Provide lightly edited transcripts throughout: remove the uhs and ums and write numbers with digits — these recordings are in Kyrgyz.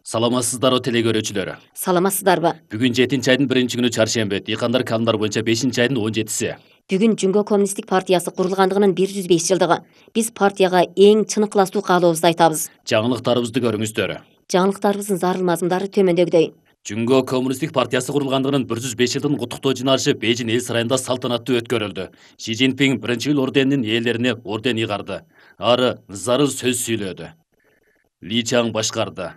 Саламатсыздарбы теле көрүүчүлөр. Саламатсыздарбы? Бүгүн 7-айдын 1-күнү чаршемби. Дыйкандар календар боюнча 5-айдын 17-си. Бүгүн Жүнгө коммунисттик партиясы курулгандыгынын 105 жылдыгы. Биз партияга эң чын ыкластуу каалообузду айтабыз. Жаңылыктарыбызды көрүңүздөр. Жаңылыктарыбыздын зарыл мазмундары төмөндөгүдөй. Жүнгө коммунисттик партиясы курулгандыгынын 105 жылдын куттуктоо жыйналышы Бейжин эл сарайында салтанаттуу өткөрүлдү. Ши Цзиньпин биринчи орденинин ээлерине орден ыйгарды. Ары зарыл сөз сүйлөдү. Ли Чаң башкарды.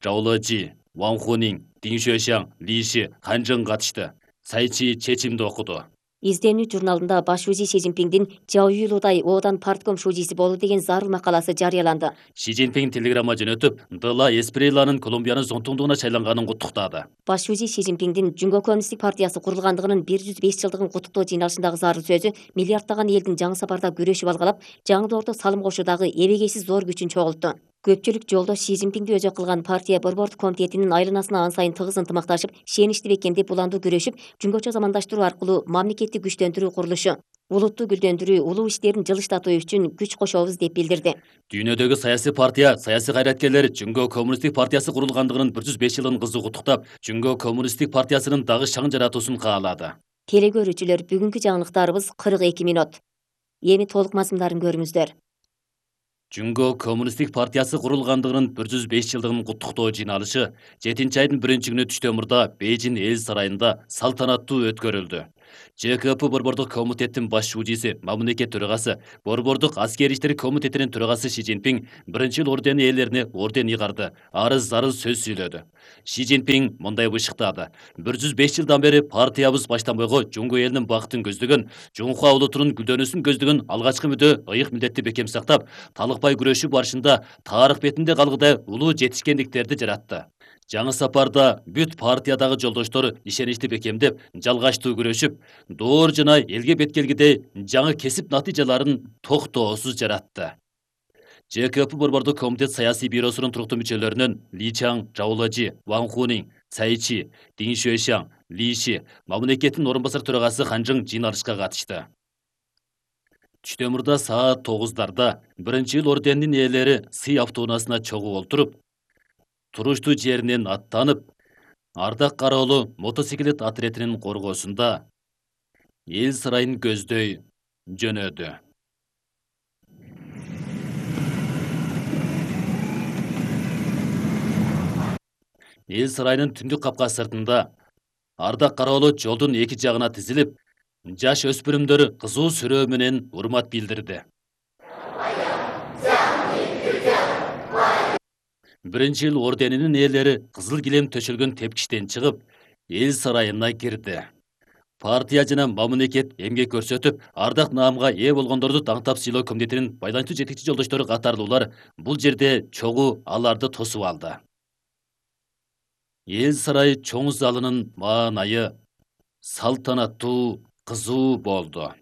Чжао Лежи, Ван Хунин, Дин Шуэшаң, Ли Ши, Хан Чжэн катышты. Цай Чи чечимди окуду. Изденүү журналында баш шужи Ши Цзиньпиндин Чжао Юйлудай Одан партком шужиси болду деген зарыл макаласы жарыяланды. Ши Цзиньпин телеграмма жөнөтүп, Дела Эспреланын Колумбиянын зонтугдугуна шайланганын куттуктады. Баш шужи Ши Цзиньпиндин Жүнгө коммунисттик партиясы курулгандыгынын 105 жылдыгын куттуктоо жыйналышындагы зарыл сөзү миллиарддаган элдин жаңы сапарда күрөшүп алгалап, жаңылоордо салым кошуудагы эбегейсиз зор күчүн чогултту. Көпчүлүк жолдош Ши Цзиньпинди өзөк кылган партия борбордук комитетинин айланасына ан сайын тыгыз ынтымакташып, шеничти бекемдеп уландуу күрөшүп, жөнгөчө замандаштыруу аркылуу мамлекетти күчтөндүрүү курулушу, улутту гүлдөндүрүү, улуу иштерин жылыштатуу үчүн күч кошобуз деп билдирди. Дүйнөдөгү саясий партия, саясий кайраткерлер Жүнгө коммунисттик партиясы курулгандыгынын 105 жылын кызуу куттуктап, Жүнгө коммунисттик партиясынын дагы шаң жаратуусун каалады. Теле көрүүчүлөр, бүгүнкү жаңылыктарыбыз 42 мүнөт. Эми толук мазмундарын көрүңүздөр. Жүнгө коммунисттик партиясы курулгандыгынын 105 жылдыгын куттуктоо жыйналышы 7-айдын 1-күнү түштөмүрдө Бейжин эл сарайында салтанаттуу өткөрүлдү. ЖКП борбордук комитеттин баш шужиси, мамлекет төрагасы, борбордук аскер иштери комитетинин төрагасы Ши Цзиньпин биринчи ордени ээлерине орден ыйгарды. Ары зарыл сөз сүйлөдү. Ши Цзиньпин мындай бышыктады. 105 жылдан бери партиябыз баштан бойго Жүнгө элинин бактын көздөгөн, Жунхуа улутунун гүлдөнүүсүн көздөгөн алгачкы мүдө ыйык милдетти бекем сактап, талыкпай күрөшүү барышында тарых бетинде калгыдай улуу жетишкендиктерди жаратты. Жаңы сапарда бүт партиядагы жолдоштор ишеничти бекемдеп, жалгачтуу күрөшүп, доор жана элге беткелгидей жаңы кесип натыйжаларын токтоосуз жаратты. ЖКП борбордук комитет саясий бюросунун туруктуу мүчөлөрүнөн Ли Чаң, Чжао Лежи, Ван Хунин, Цай Чи, Дин Шуэшаң, Ли Ши, мамлекеттин орун басар төрагасы Хан Чжэн жыйналышка катышты. Түштөмүрдө саат 9:00 биринчи орденинин ээлери сый автоунаасына чогуу олтуруп, туруштуу жеринен аттанып, Ардак Кароолу мотоциклет отрядынын коргоосунда эл сарайын көздөй жөнөдү. Эл сарайынын түндүк капка сыртында Ардак Кароолу жолдун эки жагына тизилип, жаш өспүрүмдөр кызуу сүрөө менен урмат билдирди. Биринчи орденинин ээлери кызыл килем төшөлгөн тепкичтен чыгып, эл сарайына кирди. Партия жана мамлекет эмгек көрсөтүп, ардак наамга ээ болгондорду таңтап сыйлоо комитетинин байланычтуу жетекчи жолдоштору катарлуулар бул жерде чогуу аларды тосуп алды. Эл сарай чоң залынын маанайы салтанаттуу, кызуу болду.